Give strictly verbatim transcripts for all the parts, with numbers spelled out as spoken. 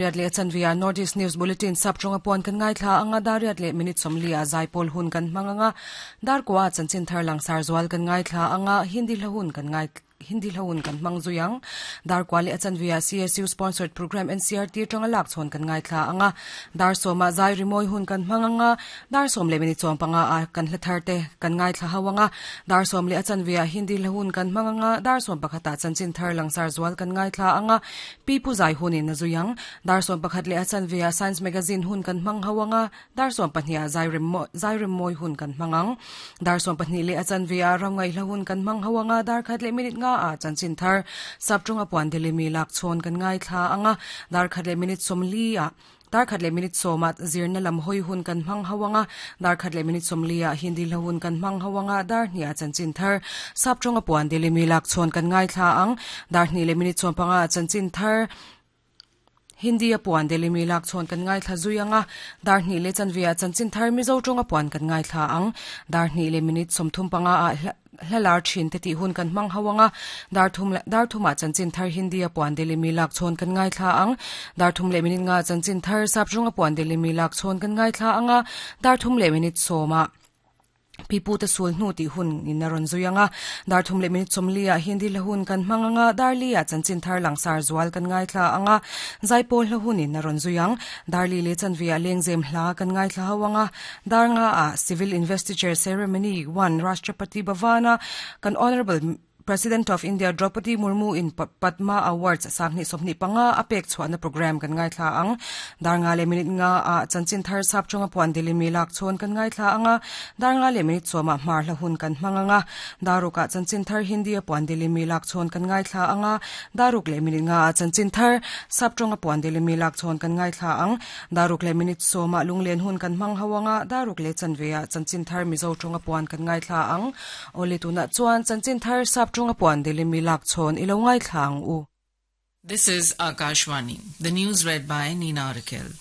Riat leh chanve North East News Bulletin sap tawnga puan kan ngaithla anga dar riat leh minute sawmli a zaipawl hun kan hmang anga dar kua chanchin thar langsar zual kan ngaithla anga Hindi hla hun kan ngai Hindi hla hun kan hmang zui ang dar kua leh chanve C S U sponsored program N C R T tanga lak chhawn kan ngaithla anga dar sawma zai rimawi hun kan hmang anga dar sawm leh minute sawm panga a kan hla thar te kan ngaithla ho anga dar sawm leh chanve Hindi hla hun kan hmang anga dar sawm pakhata chanchin thar langsar zual kan ngaithla anga pipu zai hunin na zui ang dar sawm pakhat leh chanve Science Magazine hun kan hmang ho anga dar sawm pahnih zai rim zai rimawi hun kan hmang ang dar sawm pahnih leh chanve ramngai hla hun kan hmang ho anga dar khat leh minute nga a chanchin thar sap tawnga puan delimi lak chhawn kan ngaithla anga dar khat leh minute sawmli a dar khat leh minute sawma zirna lam hawi hun kan hmang ho anga dar khat leh minute sawmli a Hindi hla hun kan hmang ho anga dar hnih a chanchin thar sap tawnga puan delimi lak chhawn kan ngaithla ang dar hnih leh minute sawm panga chanchin thar Hindi a puan delimi lak chhawn kan ngaithla zui anga dar hnih leh chanve a chanchin thar Mizo tawnga puan kan ngaithla ang dar hnih leh minute sawmthum panga a hlalar thin te tih hun kan hmang ho anga dar thum dar thuma chanchin thar Hindi a puan delimi lak chhawn kan ngaithla ang dar thum leh minute nga chanchin thar sap tawnga puan delimi lak chhawn kan ngaithla anga dar thum leh minute sawma pipu te sul hnu ti hun in a rawn zui anga dar thum leh minute sawmli a Hindi hla hun kan hmang anga dar li a chanchin thar langsar zual kan ngaithla anga zaipawl hla hun in a rawn zui ang dar li leh chanve a lengzem hla kan ngaithla ho anga dar nga a civil investiture ceremony one Rashtrapati Bhavana kan Honorable President of India Draupadi Murmu in Padma Awards sanghnih sawmhnih panga a pek chhuahna program kan ngaithla ang dar nga leh minute nga a chanchin thar sap tawnga puan delimi lak chhawn kan ngaithla anga dar nga leh minute sawma hmar hla hun kan hmang anga daruka chanchin thar Hindi a puan delimi lak chhawn kan ngaithla anga daruk leh minute nga a chanchin thar sap tawnga puan delimi lak chhawn kan ngaithla ang daruk leh minute sawma lunglen hun kan hmang ho anga daruk leh chanve a chanchin thar Mizo tawnga puan kan ngaithla ang ole tuna chuan chanchin thar sap tawnga puan delimi lak chhawn ilo ngaithla ang u. This is Akashvani. The news read by Nina Raquel.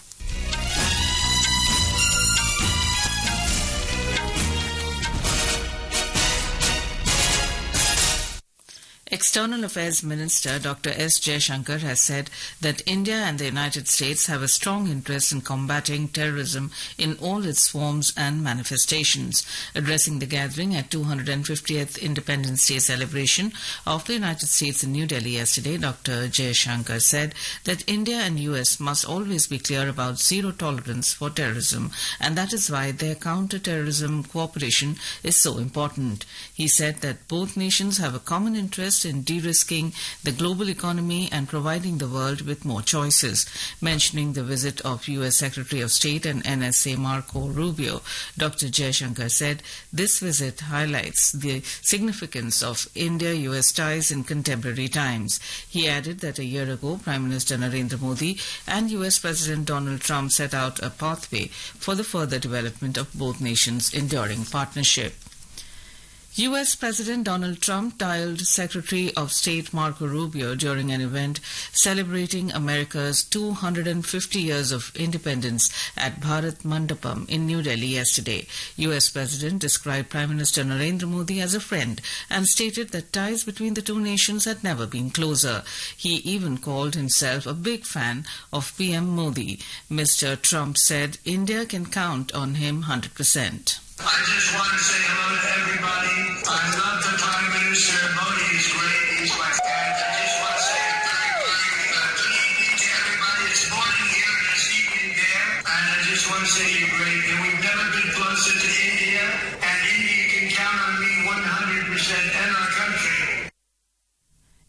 External Affairs Minister Doctor S. Jaishankar has said that India and the United States have a strong interest in combating terrorism in all its forms and manifestations. Addressing the gathering at two hundred fiftieth Independence Day celebration of the United States in New Delhi yesterday, Doctor Jaishankar said that India and U S must always be clear about zero tolerance for terrorism, and that is why their counter-terrorism cooperation is so important. He said that both nations have a common interest in de-risking the global economy and providing the world with more choices. Mentioning the visit of U S. Secretary of State and N S A Marco Rubio, Doctor Jaishankar said this visit highlights the significance of India-U S ties in contemporary times. He added that a year ago, Prime Minister Narendra Modi and U S. President Donald Trump set out a pathway for the further development of both nations' enduring partnership. U S. President Donald Trump dialed Secretary of State Marco Rubio during an event celebrating America's two hundred fifty years of independence at Bharat Mandapam in New Delhi yesterday. U S. President described Prime Minister Narendra Modi as a friend and stated that ties between the two nations had never been closer. He even called himself a big fan of P M Modi. Mister Trump said India can count on him one hundred percent. I just want to say hello to everybody. I love the Prime Minister. Modi is great. He's my friend. I just want to say a very, very uh, good evening to everybody this morning here and this evening there. And I just want to say you're great. And we've never been closer to India. And India can count on me one hundred percent and our country.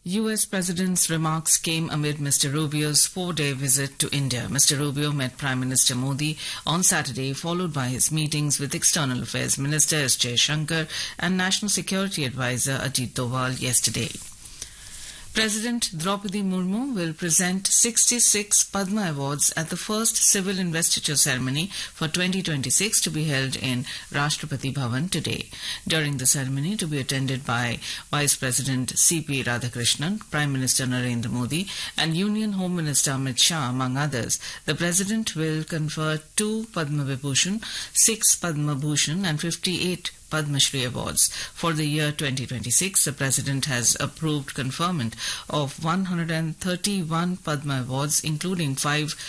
U S. President's remarks came amid Mister Rubio's four-day visit to India. Mister Rubio met Prime Minister Modi on Saturday, followed by his meetings with External Affairs Minister S. Jaishankar and National Security Advisor Ajit Doval yesterday. President Draupadi Murmu will present sixty-six Padma Awards at the first civil investiture ceremony for twenty twenty-six to be held in Rashtrapati Bhavan today. During the ceremony, to be attended by Vice President C P. Radhakrishnan, Prime Minister Narendra Modi and Union Home Minister Amit Shah, among others, the President will confer two Padma Vibhushan, six Padma Bhushan and fifty-eight Padma Shri Awards. For the year twenty twenty-six, the President has approved conferment of one hundred thirty-one Padma Awards, including five